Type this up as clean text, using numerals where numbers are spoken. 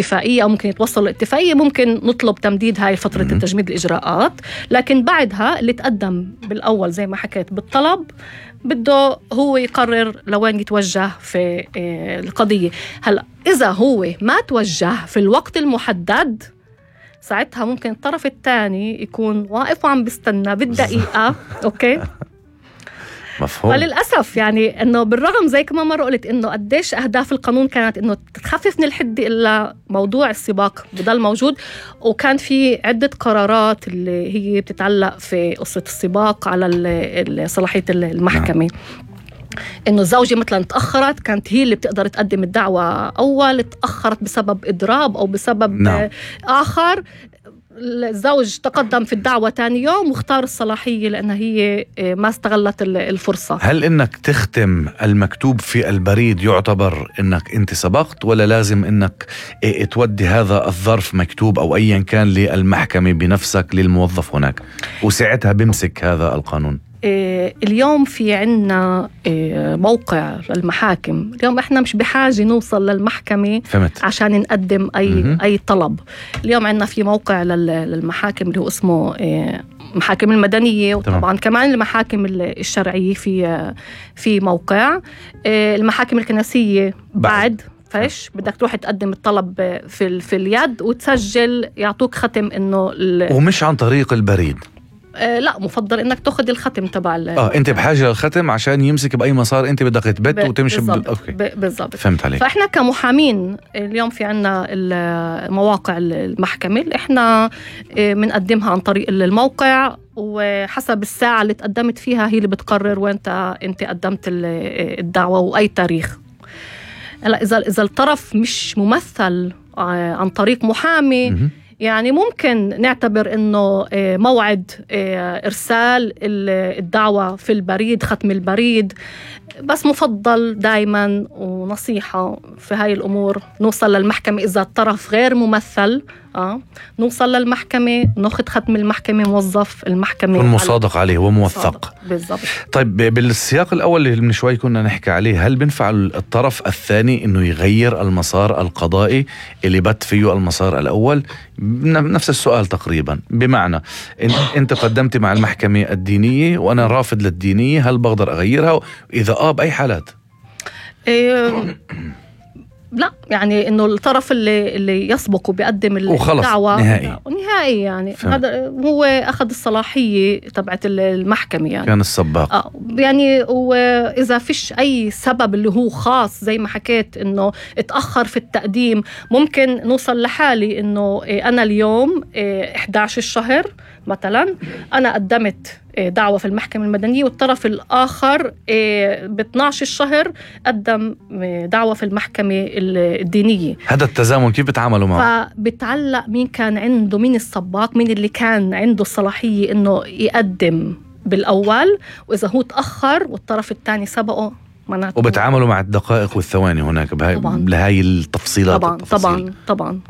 اتفاقية أو ممكن يتوصلوا لاتفاقية، ممكن نطلب تمديد هاي فترة التجميد الإجراءات. لكن بعدها اللي تقدم بالأول زي ما حكيت بالطلب بده هو يقرر لوين يتوجه في القضية. هلأ إذا هو ما توجه في الوقت المحدد، ساعتها ممكن الطرف الثاني يكون واقف وعم بيستنى بالدقيقة. أوكي، مفهوم. وللأسف يعني إنه بالرغم زي كما مرة قلت إنه قديش أهداف القانون كانت إنه تخفف من الحدة، إلا موضوع السباق بضل موجود. وكان في عدة قرارات اللي هي بتتعلق في قصة السباق على صلاحية المحكمة. إنه الزوجة مثلا تأخرت، كانت هي اللي بتقدر تقدم الدعوة أول، تأخرت بسبب إضراب أو بسبب آخر، الزوج تقدم في الدعوة تاني يوم واختار الصلاحية لأنها هي ما استغلت الفرصة. هل إنك تختم المكتوب في البريد يعتبر إنك أنت سبقت، ولا لازم إنك تودي هذا الظرف مكتوب أو أيا كان للمحكمة بنفسك للموظف هناك وساعتها بمسك هذا القانون؟ اليوم في عنا موقع للمحاكم. اليوم احنا مش بحاجة نوصل للمحكمة عشان نقدم أي طلب. اليوم عنا في موقع للمحاكم اللي هو اسمه محاكم المدنية، وطبعا كمان المحاكم الشرعية في موقع. المحاكم الكنسية بعد فايش بدك تروح تقدم الطلب في اليد وتسجل، يعطوك ختم إنه ومش عن طريق البريد. لا، مفضل انك تاخذ الختم تبع انت بحاجه للختم عشان يمسك باي مسار انت بدك تبت وتمشي بالضبط. فهمت عليك. فاحنا كمحامين اليوم في عنا مواقع المحكمه اللي احنا بنقدمها عن طريق الموقع، وحسب الساعه اللي تقدمت فيها هي اللي بتقرر وين انت قدمت الدعوه واي تاريخ. هلا اذا الطرف مش ممثل عن طريق محامي، يعني ممكن نعتبر إنه موعد إرسال الدعوة في البريد، ختم البريد. بس مفضل دايما ونصيحة في هاي الأمور نوصل للمحكمة إذا الطرف غير ممثل. نوصل للمحكمة، ناخذ ختم المحكمة، موظف المحكمة مصادق عليه وموثق. بالضبط. طيب بالسياق الأول اللي من شوي كنا نحكي عليه، هل بنفع الطرف الثاني إنه يغير المسار القضائي اللي بات فيه المسار الأول؟ نفس السؤال تقريبا، بمعنى أنت قدمت مع المحكمة الدينية وأنا رافض للدينية، هل بقدر أغيرها؟ إذا بأي حالات؟ لا، يعني انه الطرف اللي يسبق وبيقدم الدعوة نهائي يعني هذا هو اخذ الصلاحية تبعت المحكمة، يعني كان السباق. يعني واذا فيش اي سبب اللي هو خاص زي ما حكيت انه اتأخر في التقديم، ممكن نوصل لحالي انه انا اليوم 11 الشهر مثلا انا قدمت دعوة في المحكمة المدنية، والطرف الآخر ب 12 الشهر قدم دعوة في المحكمة الدينية. هذا التزامن كيف بتعاملوا معه؟ فبتعلق مين كان عنده، مين السباق، مين اللي كان عنده الصلاحية إنه يقدم بالأول، وإذا هو تأخر والطرف الثاني سبقه وبتعاملوا مع الدقائق والثواني هناك لهاي التفصيلات. طبعا.